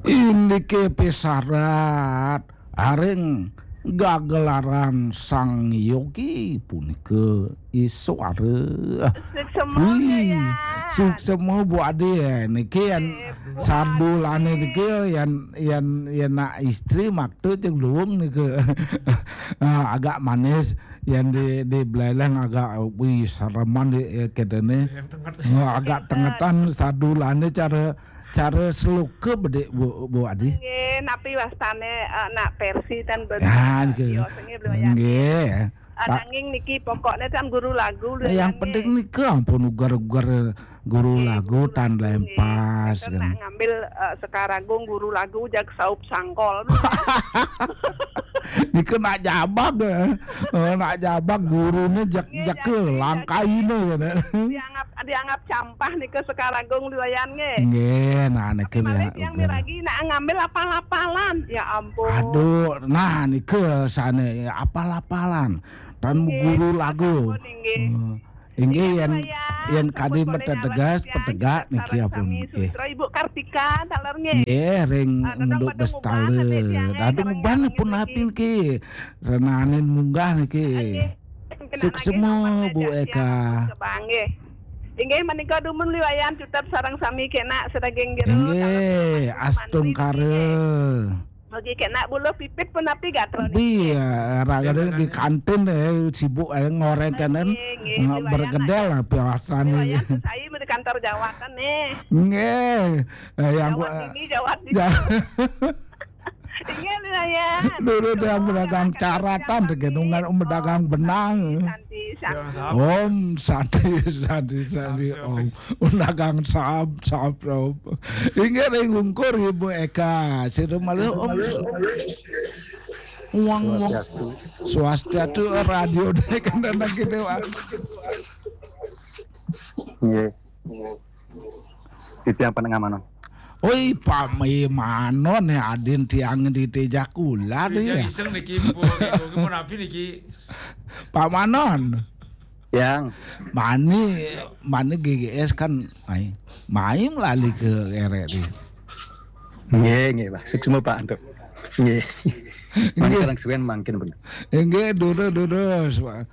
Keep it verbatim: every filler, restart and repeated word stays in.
Indike pisarat aring gagelaran Sang Yogi punika Iswara. Suksema, Wih, ya. Suksema Bu Adi, eh, niki yan sadulane niki yan yan yan nak istri maktu cek luwung niki. Ah, agak manis yan di di beleleng agak wih sereman di eh, kedene. Ya, tenget. Ah, agak tengetan sadulane cara cara seluka bedik Bu Bu Adi. Nggih, napi wastane eh, nak versi tan ben. Ah, niki. Nggih. Ah, nanging niki pokoknya kan guru lagu lho. Yang penting nika ampun ugar-ugar guru lagu tan lempas kan. Nak ngambil eh, Sekaragung guru lagu jag saup sangkol. Nika nak jabag eh. Eh, nak jabag gurune jak jak langkaine ya. Dianggap dianggap campah nika Sekaragung liwayan nggih. Nggih, nah nika. Malih tiang miragi nak ngambil apal-apalan. Ya ampun. Aduh, nah nika sane apal-apalan. Tan guru lagu. Inggih. Inggih yen yen kadi metetegas petegak niki apun nggih. Ibu Kartika taler nggih. Nggih ring munduk bestale. Dadung ban pun api niki. Renanin munggah niki. Suksema Bu Eka. Inggih menika dumun liwayan tetep sareng sami kena sedaging jero. Inggih astungkara. Mugi kena buluh pipit punapi gatra niki. Iya, ragane di kantin eh, sibuk eh, ngoreng kanan. Bergedel lah piawasan ini. Saya di kantor jawatan nih. Nggih. Eh, yang Jawat ini jawat ini. Iya, lumayan. Dulu dia pedagang caratan, gitu, nungan pedagang benang. Santi, santi. Om santi santi santi om. Undagang sahab sahab sahab. Inggih ring ungkur Ibu Eka. Sira malih om. Uang uang. Swastiastu radio dek kandana kene wah. Nggih. Titiang panengah manon. Oi pami manon ya adin tiang di teja kula ya. Iseng niki Bu napi niki. Pak Manon. Yang. Mani mani G G S kan ai. Main lali ke R R I. Nggih, nggih, Pak. Suksma Pak antuk. Nggih. Mangkin suwen mangkin bener. Nggih, durus durus, Pak.